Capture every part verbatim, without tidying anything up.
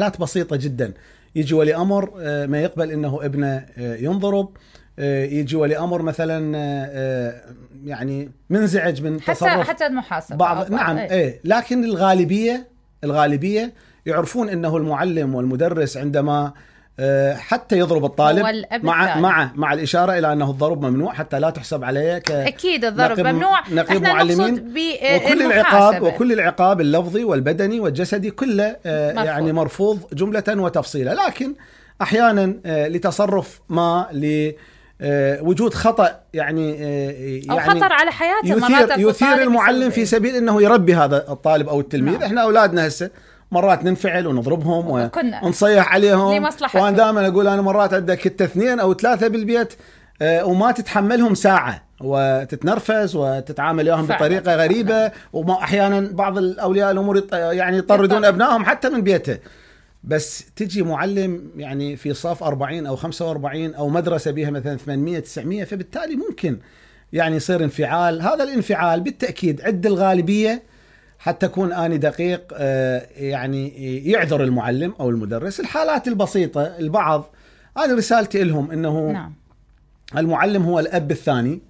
حالات بسيطة جدا. يجي ولي أمر ما يقبل إنه ابنه ينضرب، يجي ولي أمر مثلا يعني منزعج من حتى تصرف حتى المحاسبة بعض بعض. نعم ايه. ايه لكن الغالبية الغالبية يعرفون إنه المعلم والمدرس عندما حتى يضرب الطالب مع مع مع الإشارة إلى أنه الضرب ممنوع حتى لا تحسب عليه ك أكيد الضرب ممنوع. نقيب معلمين. وكل العقاب وكل العقاب اللفظي والبدني والجسدي كله مرفوض. يعني مرفوض جملة وتفصيلا. لكن أحيانا لتصرف ما لوجود خطأ يعني أو يعني خطر على حياته يثير, يثير المعلم في سبيل أنه يربي هذا الطالب أو التلميذ. نعم. إحنا أولادنا هسه مرات ننفعل ونضربهم ونصيح عليهم، وأنا دائما أقول أنا مرات عندك كنت اثنين أو ثلاثة بالبيت وما تتحملهم ساعة وتتنرفز وتتعامل وياهم بطريقة غريبة، وما أحيانا بعض الأولياء الأمور يعني يطردون أبنائهم حتى من بيته. بس تجي معلم يعني في صف أربعين أو خمسة وأربعين أو مدرسة بها مثلا ثمانمية تسعمية، فبالتالي ممكن يعني يصير انفعال. هذا الانفعال بالتأكيد عند الغالبية حتى أكون آني دقيق يعني يعذر المعلم أو المدرس. الحالات البسيطة البعض أنا رسالتي لهم إنه نعم. المعلم هو الأب الثاني،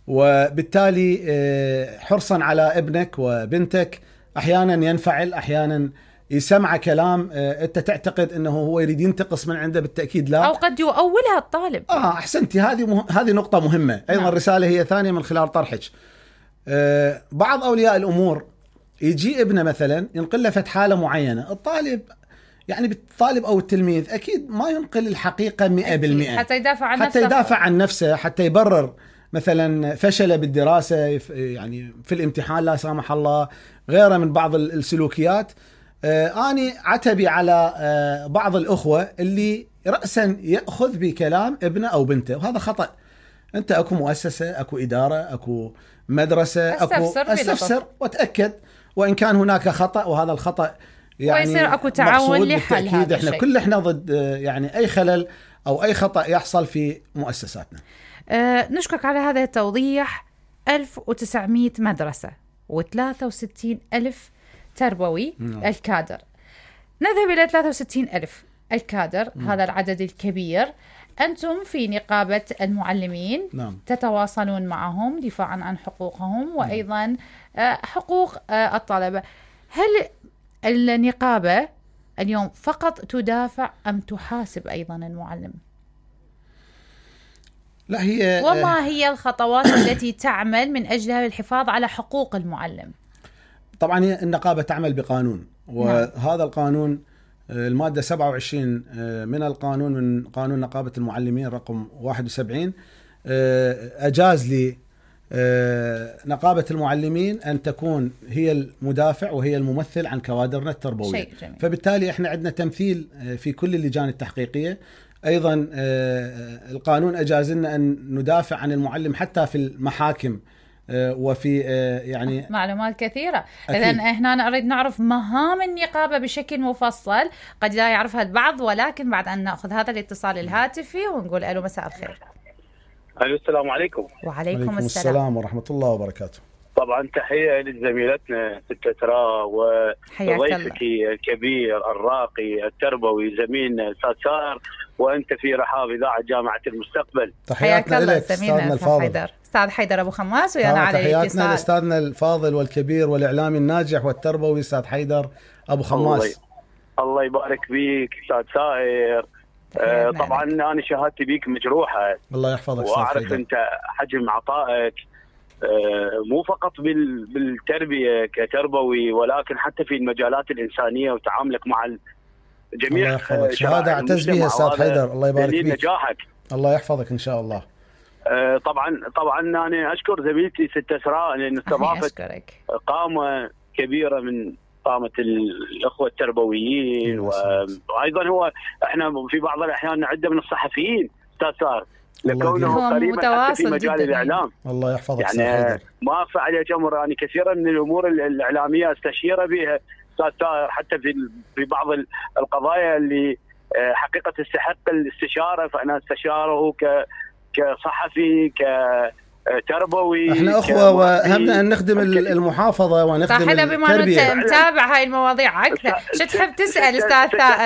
وبالتالي حرصا على ابنك وبنتك أحيانا ينفعل، أحيانا يسمع كلام أنت تعتقد أنه هو يريد ينتقص من عنده، بالتأكيد لا، أو قد يؤولها الطالب. آه أحسنتي. هذه مه... هذه نقطة مهمة أيضا. نعم. الرسالة هي ثانية من خلال طرحك. آه بعض أولياء الأمور يجي ابنه مثلا ينقل له فت حالة معينة، الطالب يعني بالطالب أو التلميذ أكيد ما ينقل الحقيقة مئة بالمئة حتى يدافع عن حتى نفسه يدافع عن نفسه حتى يبرر مثلا فشله بالدراسة يعني في الامتحان لا سامح الله، غيره من بعض السلوكيات. آه أنا عتبي على آه بعض الأخوة اللي رأسا يأخذ بكلام ابنه أو بنته، وهذا خطأ. أنت أكو مؤسسة، أكو إدارة، أكو مدرسة، أكو أستفسر وتأكد، وإن كان هناك خطأ وهذا الخطأ يعني ويصير أكو تعاون لحل هذا إحنا الشيء. كل إحنا ضد يعني أي خلل أو أي خطأ يحصل في مؤسساتنا. أه نشكرك على هذا التوضيح. ألف وتسعمية مدرسة وثلاثة وستين ألف تربوي. نعم. الكادر نذهب إلى ثلاثة وستين ألف الكادر. نعم. هذا العدد الكبير. أنتم في نقابة المعلمين. نعم. تتواصلون معهم دفاعا عن حقوقهم وأيضا حقوق الطلبة. هل النقابة اليوم فقط تدافع أم تحاسب أيضا المعلم؟ لا هي وما هي الخطوات التي تعمل من أجلها للحفاظ على حقوق المعلم؟ طبعا النقابة تعمل بقانون، وهذا القانون المادة سبعة وعشرين من القانون، من قانون نقابة المعلمين رقم واحد وسبعين، أجاز لي نقابة المعلمين أن تكون هي المدافع وهي الممثل عن كوادرنا التربوية. فبالتالي احنا عندنا تمثيل في كل اللجان التحقيقية. أيضا القانون أجاز لنا أن ندافع عن المعلم حتى في المحاكم وفي يعني معلومات كثيرة. إذن إحنا نريد نعرف مهام النقابة بشكل مفصل، قد لا يعرفها البعض، ولكن بعد أن نأخذ هذا الاتصال الهاتفي ونقول ألو مساء الخير. ألو السلام عليكم. وعليكم السلام. السلام ورحمة الله وبركاته. طبعا تحية لزميلتنا ستة ترى وضيفك الكبير الراقي التربوي زميلنا أستاذ سائر، وأنت في رحاب إذاعة جامعة المستقبل. تحياتنا لك أستاذنا الفاضل أستاذ حيدر أبو خماس، ويانا على الاتصال. تحياتنا لأستاذنا الفاضل والكبير والإعلامي الناجح والتربوي أستاذ حيدر أبو خماس. الله, الله يبارك فيك أستاذ سائر. آه طبعا أنا شهادتي بيك مجروحة. الله يحفظك أستاذ وأعرف حيدر. أنت حجم عطائك آه مو فقط بالتربية كتربوي، ولكن حتى في المجالات الإنسانية وتعاملك مع الجميع. الله يحفظك. شهادة أعتز بها أستاذ حيدر. الله يبارك فيك. نجاحك. الله يحفظك إن شاء الله. آه طبعا طبعا أنا أشكر زميلتي ستة إسراء لأن استضافت قامة كبيرة من قامة الأخوة التربويين، وأيضا هو إحنا في بعض الأحيان نعده من الصحفيين أستاذ سار لكونه قريبا في مجال الإعلام. الله يحفظك. يعني ما أخفى عليك أمر، يعني كثيرا من الأمور الإعلامية استشير بها أستاذ سار، حتى في في بعض القضايا اللي حقيقة تستحق الاستشارة، فأنا استشاره ك كصحفي ك تربوي. احنا اخوه وهمنا ان نخدم المحافظه ونخدم التربيه. بما انت متابع هاي المواضيع اكثر، شو تحب تسال استاذ ثائر؟